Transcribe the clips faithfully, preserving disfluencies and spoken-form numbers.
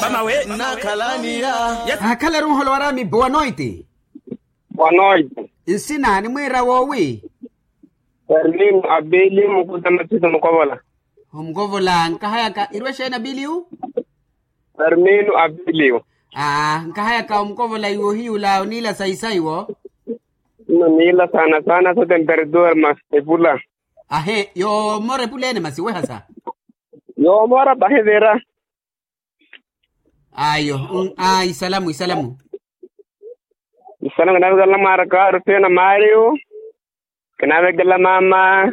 Mama we. Nnakhalaniya. Akhalaru nholowara mibo wanoiti. Wanoiti. Nsina nimwiira woowi? Fermino abili mukuta matito mukovola. Omukovola nkahayaka irwe xeeni abiliyu? Fermino abiliyu. Aa nkahayaka omukovola iwo hiyula oniila saisaiwo. Oniila saana saana so temperatura mas epula. Ahe yoomora epula ene masi wehasa. Yoomora pahi vira. Ayo. Isalamu isalamu. Isalamu kinavekela mwaaraka wa rufina mario. Kinavekela mama.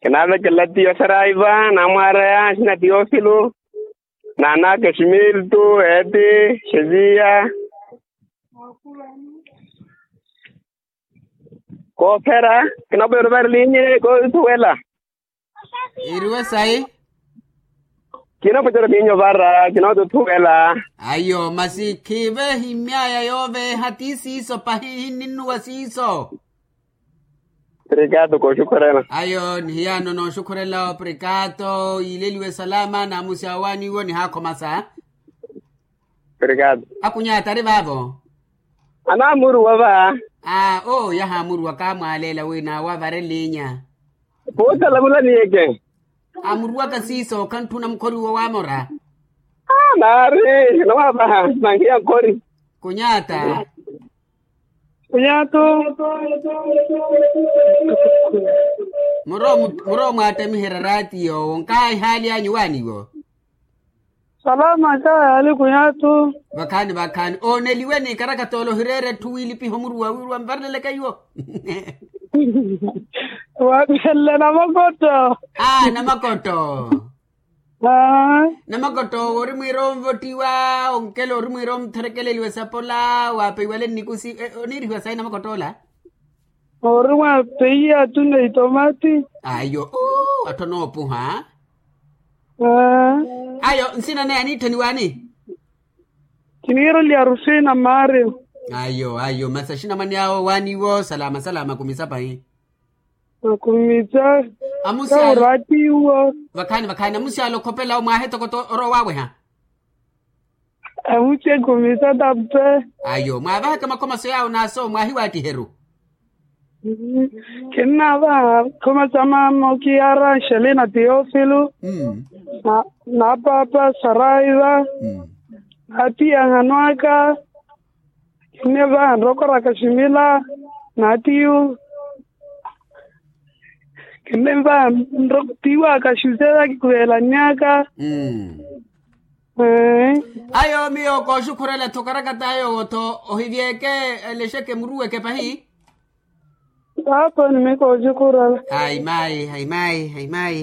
Kinavekela tiyo saraiva namwaaraya sina tiyofilu. Nanaka ximiltu eti xeziya. Koophera. Kinapucela ovarelinye koothuwela. Iriwe sayi. Kinapucela ovarelinye ovara kinootuthuwela. Ayo masi khiive himmyaya yooveeha ti siiso pahi hinninnuwa siiso. Obrigado kooxukhurela. Ayo nihiyaano nooxukhurela obrigado yiileliwe salama naamusi awaaniwo nihaakhomasa. Obrigado. Akunyata ari vaavo? Anaamuruwa va. Aa oo yahaamuruwa kaamwaaleela wi naawo avarelinya. Puusa lavula niyeke. Amuruwaka siiso khantthuna mukhoriwo waamora. Naari kinowavaha nankiya nkhori. Kunyata. Kunyata. Muro mwattamiherya raati yoowo nkaayi haali anyu waaniwo. Salama nkayaali kunyatu. Vakhaani vakhaani ooneliwe ni karakatoola ohireera etthu wiilipiha omuruwa wiiruwa nvareleleke iwo. Waaphelele namakoto. Aa namakoto. Namakoto owo ori mwiira onvottiwa onkela ori mwiira omtherekeleliwa esapola waapeiwale nnikusi. Oniirihiwa sayi namakoto ola? Ori mwa peiya atuna itomati. Ayo uu atthu anoopuha. Ayo nsina naye aniitthaniwaani? Kiniireliya rufina mario. Ayo ayo masi axinamwane awo waaniwo salama salama kumisa pahi. Akumisa. Amusyaala. Kauraatiwo. Vakhaani vakhaani amusyaala okhopela omwaahe tokoto orowa waaweha. Amuche khumisa tape. Ayo mwaavahaka makhomaso yaawo naaso mwaahiwaattiheru. Khinnaavaha khumasa mama okiyara nxelina teofilo. Naapapa saraiva. Naatiya nhanwaka. Khinnivaha nrokoraka ximila. Naatiyu. Khinnivaha nroktiwaka xuseya kikhuvelannyaka. Ayo miyo kooxukhurela-tho okarakata ayo-wo-tho ohivyeke. Elexeke muruweke pahi. Paapa ni miyo kooxukhurela. Ayi mayi ayi mayi ayi mayi.